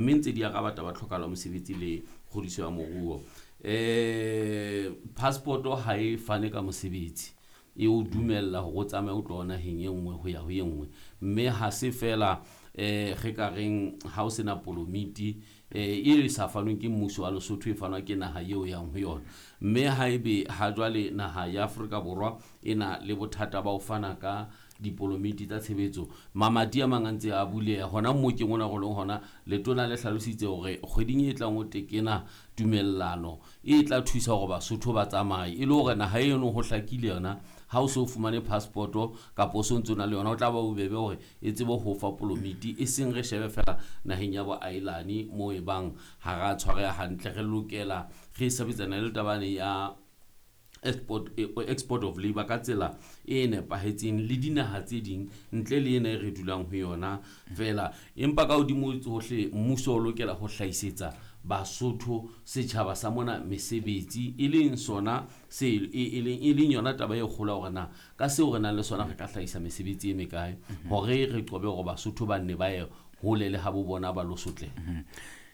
Mme ntse di araba taba tlhokahalo ya mosebetsi le kgodiso ya moruo. Passport ha e fane ka mosebetsi, e o dumella hore o tsamaye o tloha naheng e nngwe ho ya ho e nngwe. Mme ha se fela re ka reng ha o sena polomiti e sa fanweng ke mmuso wa Lesotho, e fanwa ke naha eo yang ho yona. Mme haebe ha jwale naha ya Afrika Borwa e na le bothata ba ho fana ka dipolomiti tsa tshebetso, mamati a mang a ntse a buleha hona mmokeng ona re leng hona. Letona le hlalositse hore kgweding e tlang ho tekena tumellano e tla thusa hore Basotho ba tsamaye, e le hore naha eno ho hlakile yona. Ha o so fumane passport kapa o so ntso na le yona, o tla ba bobebe hore e tsebe ho fa polomiti, e seng re shebe fela naheng ya boailane moo e bang ha ra tshwareha hantle. Re lokela re sebetsana le tabane ya export of labor ka tsela e nepahetseng le dinaha tse ding ntle le ena e re dulang ho yona fela. Empa ka hodimo tsohle, mmuso o lokela ho hlahisetsa Basotho, setjhaba sa mona, mesebetsi, e leng sona se e leng yona taba e kgolo hore na ka seo re nang le sona re ka hlahisa mesebetsi e mekae, hore re qobe hore Basotho ba nne ba ye hole le ha bo bona ba lo sotleha.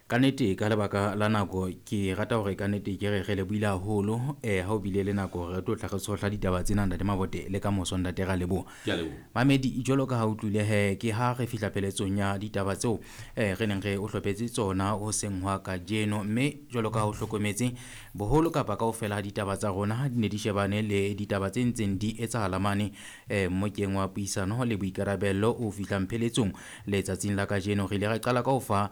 Ka nnete, ka lebaka la nako, ke rata hore ka nnete ke re re lebohile haholo ha o bile le nako hore re tlo tla re tshohla ditaba tsena, Ntate Mabote, le ka moso, Ntate, ra leboha. Ke a leboha. Mamedi, jwalo ka ha o utlwile he, ke ha re fihla pheletsong ya ditaba tseo re neng re o hlophetse tsona hoseng hwa kajeno. Mme jwalo ka ha o hlokometse, boholo kapa kaofela ha ditaba tsa rona di ne di shebane le ditaba tse ntseng di etsahala mane mmokeng wa puisano le boikarabello o fihlang pheletsong letsatsing la kajeno. Re ile ra qala ka ho fa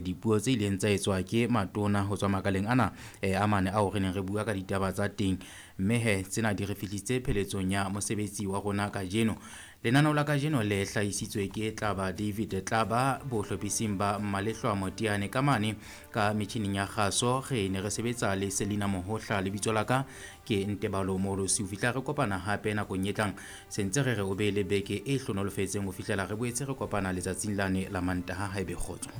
dipuo tse ileng tsa etswa ke matona ho tswa makaleng ana a mane ao re neng re bua ka ditaba tsa teng. Mme he tsena di re fihlisitse pheletsong ya mosebetsi wa rona kajeno. Lenaneo la kajeno le hlahisitswe ke Tlaba David Tlaba, bohlophising ba Mmalehlwa Motiane. Ka mane ka metjhining ya kgaso re ne re sebetsa le Selina Mohohla. Lebitso la ka ke Ntebalo Molosi. Ho fihla re kopana hape nakong e tlang, sentse re re o be le beke e hlonolofetseng ho fihlela re boetse re kopana letsatsing lane la Mantaha. Haebe kgotso.